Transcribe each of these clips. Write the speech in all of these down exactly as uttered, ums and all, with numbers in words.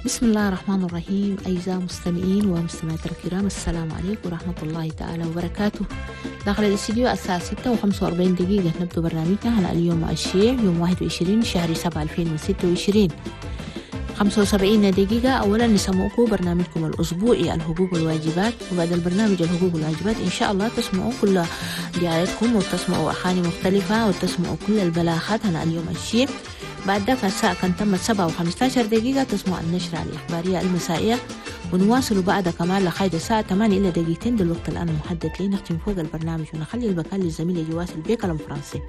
بسم الله الرحمن الرحيم. أعزائي المستمعين ومستمعات الكرام، السلام عليكم ورحمة الله تعالى وبركاته. داخل الاستديو الساعة ستة وخمسة وأربعين دقيقة نبدأ برنامجنا على اليوم الشيع يوم واحد وعشرين شهر سبعة ألفين وستة وعشرين خمسة وسبعين دقيقة. أولا نسمعكم برنامجكم الأسبوعي الحقوق والواجبات، وبعد البرنامج الحقوق والواجبات إن شاء الله تسمعوا كل دعايتكم وتسمعوا أغاني مختلفة وتسمعوا كل البلاغات على اليوم الشيع. بعد ذاك الساعة كان تمت سبعة وخمسة عشر دقيقة تسمع النشرة الإخبارية المسائية، ونواصل بعد كمان لغاية الساعة ثمانية إلى دقيقتين دلوقتي الآن المحدد لي نختم فوق البرنامج ونخلي المكان للزميل يجي واصل بكلام فرنسي.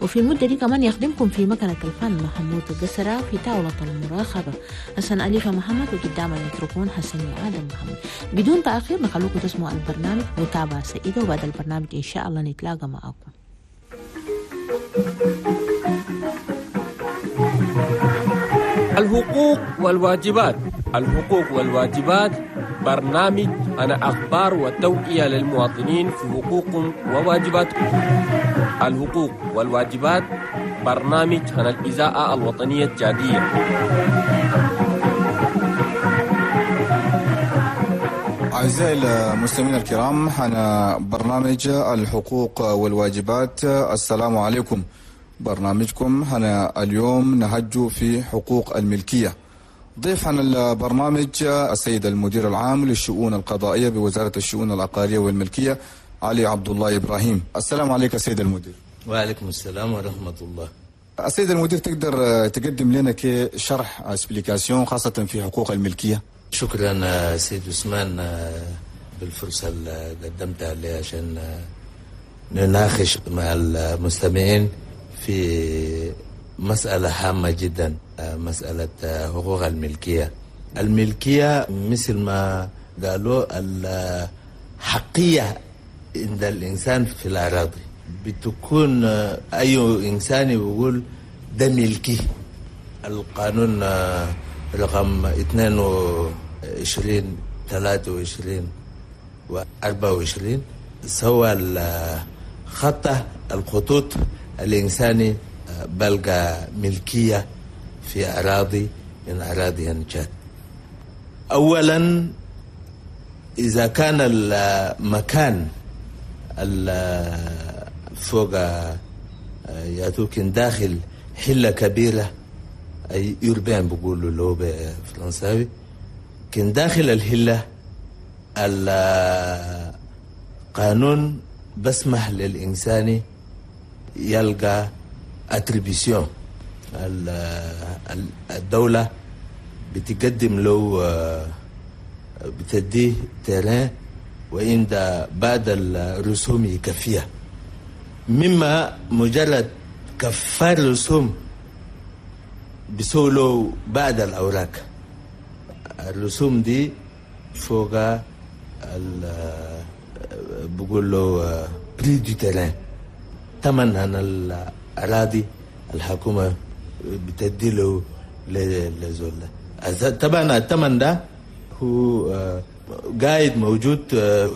وفي المدة دي كمان يخدمكم في مكنة الفن محمود القسرة، في طاولة المراقبة حسن أليفة محمد، وقدام الميكروفون حسن آدم محمد. بدون تأخير نخلوكم تسمعوا البرنامج متابعة سعيدة، وبعد البرنامج إن شاء الله نتلاقى معكم. الحقوق والواجبات. الحقوق والواجبات برنامج أنا أخبار وتوعية للمواطنين في حقوقهم وواجباتهم. الحقوق والواجبات برنامج عن الإذاعة الوطنية التشادية. أعزائي المستمعين الكرام، أنا برنامج الحقوق والواجبات. السلام عليكم. برنامجكم هنا اليوم نهج في حقوق الملكية. ضيف عن البرنامج السيد المدير العام للشؤون القضائية بوزارة الشؤون العقارية والملكية علي عبد الله إبراهيم. السلام عليك السيد المدير. وعليكم السلام ورحمة الله. السيد المدير، تقدر تقدم لنا كشرح explication خاصة في حقوق الملكية؟ شكرا سيد عثمان بالفرصة اللي قدمتها لي عشان نناقش مع المستمعين في مسألة هامة جدا، مسألة حقوق الملكية. الملكية مثل ما قالوا الحقية عند الإنسان في الأراضي، بتكون أي إنسان يقول ده ملكي. القانون رقم اثنين وعشرين ثلاثة وعشرين وأربعة وعشرين سوى خطة الخطوط الإنساني بلغ ملكية في أراضي من أراضي النجاد. أولا إذا كان المكان فوق ياتوكن داخل حلة كبيرة، أي يوربان بيقولوا له بالفرنساوي، كان داخل الحلة القانون بسمح للإنسان يلقى attribution. الدولة بتقدم له، بتديه terrain وعند بعد الرسوم يكفيها، مما مجرد كفار رسوم بسولو بعد الأوراق. الرسوم دي فوق بقول له prix du terrain، ثمن عن الأراضي الحكومة بتدي له لزول. طبعا الثمن ده هو قاعد موجود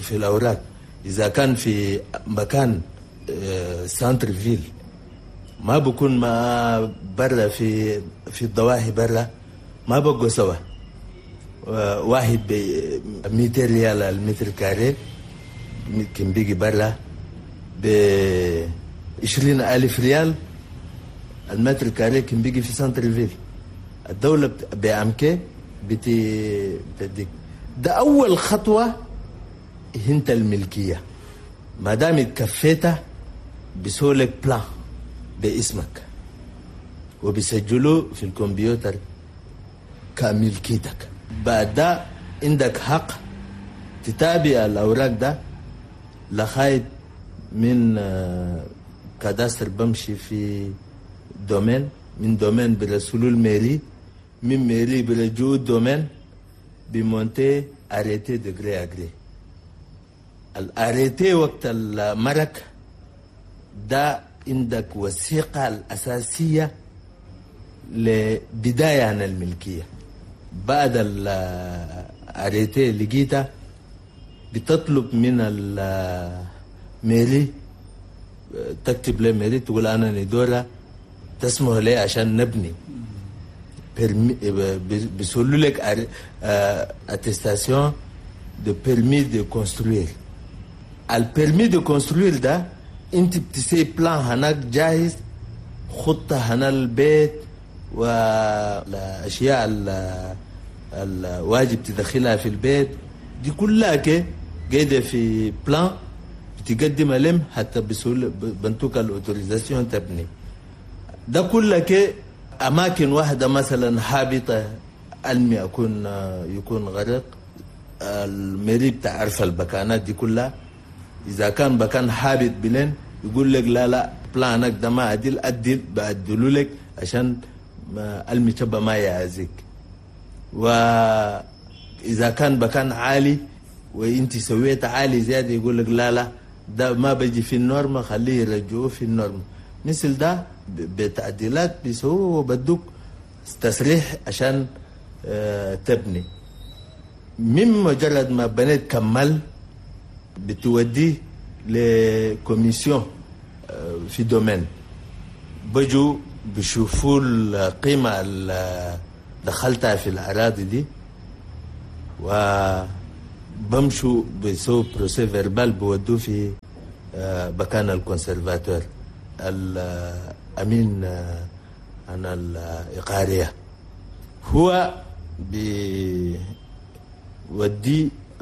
في الأوراق. إذا كان في مكان centre-ville ما بكون ما برا في في الضواحي برا ما بقوا سوا، واحد ب مئتين ريال المتر carré كان بيجي برا ب عشرين ألف ريال المتر carré كان بيجي في centre-ville. الدولة بأمكي بتديك. ده أول خطوة هنت الملكية. ما دام كفيتها بسولك plan باسمك وبيسجلوه في الكمبيوتر كملكيتك. بعد ده عندك حق تتابع الأوراق ده لغاية من cadastre بمشي في domaine، من domaine برسولو ال mairie، من mairie برجو domaine بمونتي arrêté de gré à gré. ال arrêté وقت المرك ده عندك وثيقة الأساسية لبداية عن الملكية. بعد ال arrêté لقيتها بتطلب من ال mairie، تكتب ل mairie تقول أنا ندورة تسمح لي عشان نبني. permis بيسولوا لك attestation de permis de construire. ال permis de construire ده انت بتسي plan هناك جاهز، خطة هنا البيت والاشياء الواجب تدخلها في البيت دي كلها كي قاعدة في plan بتقدم لهم حتى بسهولة بنتوك ال autorisation تبني. ده كله كي اماكن واحدة مثلا هابطة المي اكون يكون غرق، ال mairie بتعرف البكانات دي كلها. اذا كان بكان هابط بلين يقول لك لا لا plan ك ده ما عدل، عدل بعدلوا لك عشان المي تبقى ما يعزك. واذا كان بكان عالي وانت سويت عالي زيادة يقول لك لا لا ده ما بيجي في ال norme، خليه يرجعوه في ال norme. مثل ده بتعديلات بيسووه وبدوك تصريح عشان تبني. من مجرد ما بنيت كمل بتوديه ل commission في domaine، بجو بيشوفوا القيمة اللي دخلتها في الأراضي دي وبمشوا بيسووا procès-verbal بودوه في مكان ال conservateur الأمين عن الإقارية، هو بيودي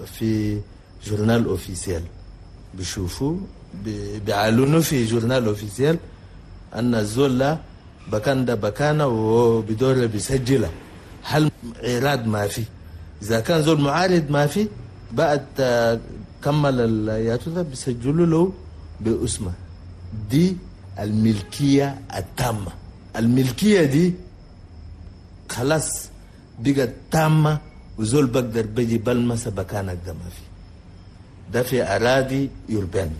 في journal officiel، بيشوفوا بيعلنوا في journal officiel أن الزول بكان ده بكانه وبدور بيسجله. هل عراض ما في؟ إذا كان زول معارض ما في بعد كمل الياتو ده بيسجلوا له باسمه. دي الملكية التامة. الملكية دي خلاص بقت تامة، وزول بقدر بيجي بلمسة بكانك ده ما في. ده في أراضي urbaine.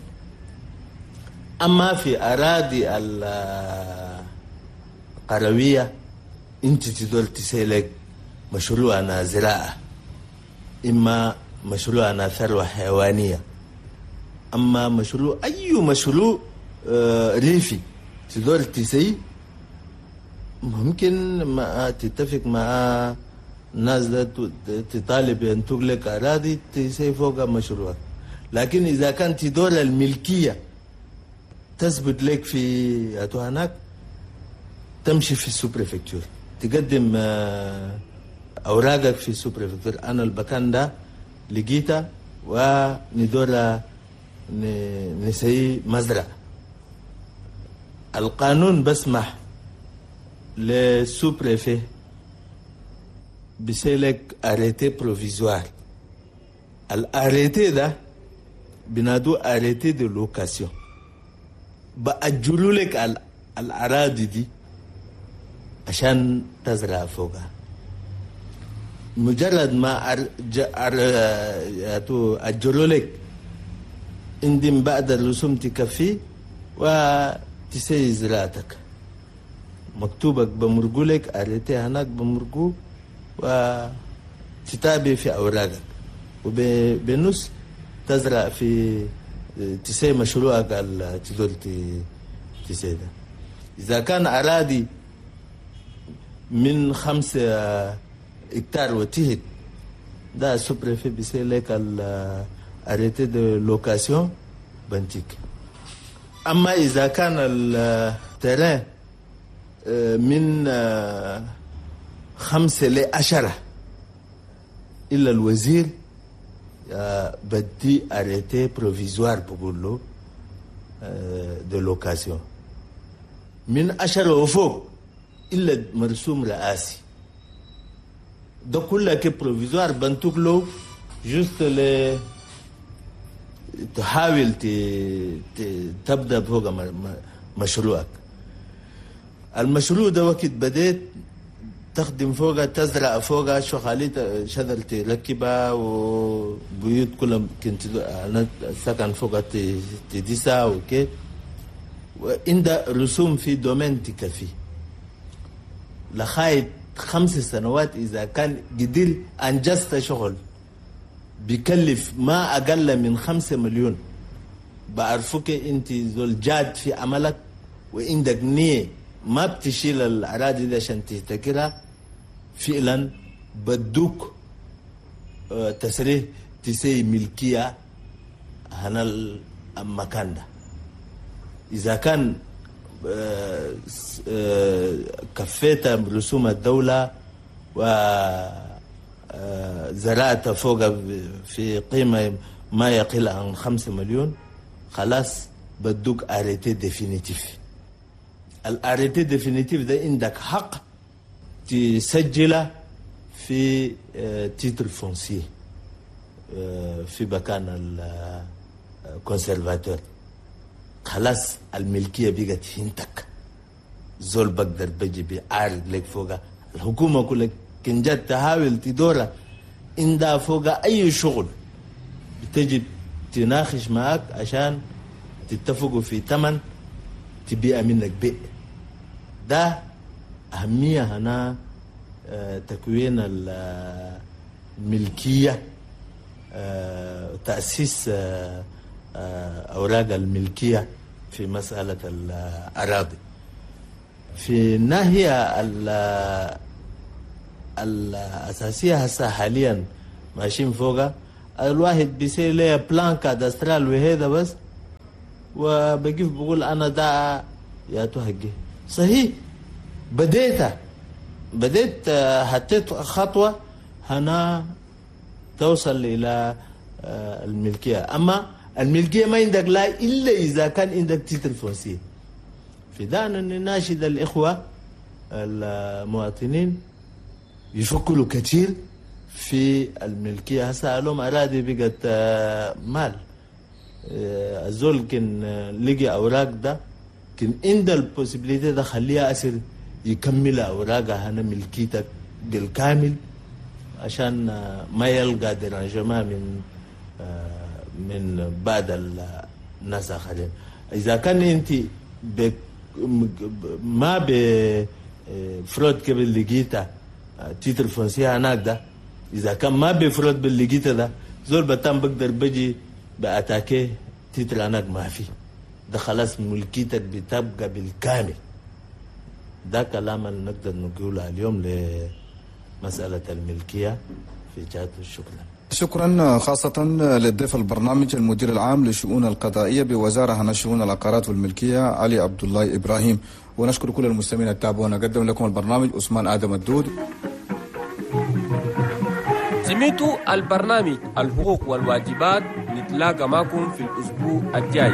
أما في أراضي القروية أنت تدور تسألك مشروع أنا زراعة، إما مشروع أنا ثروة حيوانية، أما مشروع أي مشروع ريفي تدور تسي ممكن ما تتفق مع الناس ده تطالب أن تغلق أراضي تسي فوق مشروعك. لكن إذا كانت تدور الملكية تثبت لك في هناك، تمشي في ال sous-préfecture تقدم أوراقك في ال sous-préfecture، أنا البكان ده لقيته وندور نسي مزرعة. القانون بسمح لل sous-préfet بسيلك arrêté provisoire. ال arrêté ده بنادو arrêté de location، بأجلوا لك الأراضي دي عشان تزرع فوقها. مجرد ما أجلوا لك عندهم بعد الرسوم تكفي وتسي زراعتك، مكتوبك بمرقولك arrêté هناك بمرقو وتتابع في أوراقك، وبالنص تزرع في تسي مشروعك تدور تسي ده. إذا كان أراضي من خمسة هكتار وتهت ده sous-préfet بيسي لك ال arrêté de location بنتيك. أما إذا كان ال terrain من خمسة لعشرة إلا الوزير بدي arrêté provisoire بقول له de location من عشرة وفوق إلا مرسوم رئاسي. ده كله كي provisoire بنتوك له juste ل تحاول تبدأ فوق مشروعك. المشروع ده وقت بديت تخدم فوقها تزرع فوقها شو خليت شجر تركبها وبيوت كلها كنت سكن فوقها تديسها وكي وعند رسوم في domaine تكفي لغاية خمس سنوات. إذا كان قدر أنجزت شغل بيكلف ما أقل من خمسة مليون بعرفك أنت زول جاد في عملك وعندك نية ما بتشيل الأراضي دي عشان تهتكرها، فعلا بدوك تصريح تسي ملكية هنا المكان ده. إذا كان كفيت رسوم الدولة وزرعت فوق في قيمة ما يقل عن خمسة مليون، خلاص بدوك arrêté définitif. ال arrêté définitif ده عندك حق تسجله في titre foncier في مكان ال conservateur. خلاص الملكية بقت هنتك، زول بقدر بجي بيعارض لك فوقها. الحكومة كلها كن جت تحاول تدورها عندها فوقها أي شغل بتجي تناقش معك عشان تتفقوا في ثمن تبيع منك بيع. ده أهمية هنا تكوين الملكية، تأسيس أوراق الملكية في مسألة الأراضي. في الناحية الأساسية هسه حاليا ماشيين فوقها، الواحد بيصير ليه plan cadastral وهذا بس، وبقيف بقول أنا ده يا تهجي صحيح. بديت بديت حطيت خطوة هنا توصل إلى الملكية. أما الملكية ما عندك لا إلا إذا كان عندك titre foncier. في ده نناشد الإخوة المواطنين يفكروا كثير في الملكية. هسه لهم أراضي بقت مال، الزول كان لقي أوراق ده كان عند ال possibilité ده خليها أسر يكمل أوراقها هنا ملكيتك بالكامل عشان ما يلقى dérangement من من بعد الناس آخرين. إذا كان أنت ما ب fraude قبل لقيتها titre foncier هناك ده، إذا كان ما ب fraude باللقيتها ده زول بتام بقدر بجي ب attaquer titre هناك ما في ده، خلاص ملكيتك بتبقى بالكامل. ده كلام اللي نقدر نقوله اليوم لمسألة الملكية في جهة. شكرا. شكرا خاصة للضيف البرنامج المدير العام للشؤون القضائية بوزارة عن شؤون العقارات والملكية علي عبد الله إبراهيم، ونشكر كل المستمعين التابعونا. قدم لكم البرنامج عثمان آدم الدود. سمعتوا البرنامج الحقوق والواجبات، نتلاقى معكم في الأسبوع الجاي.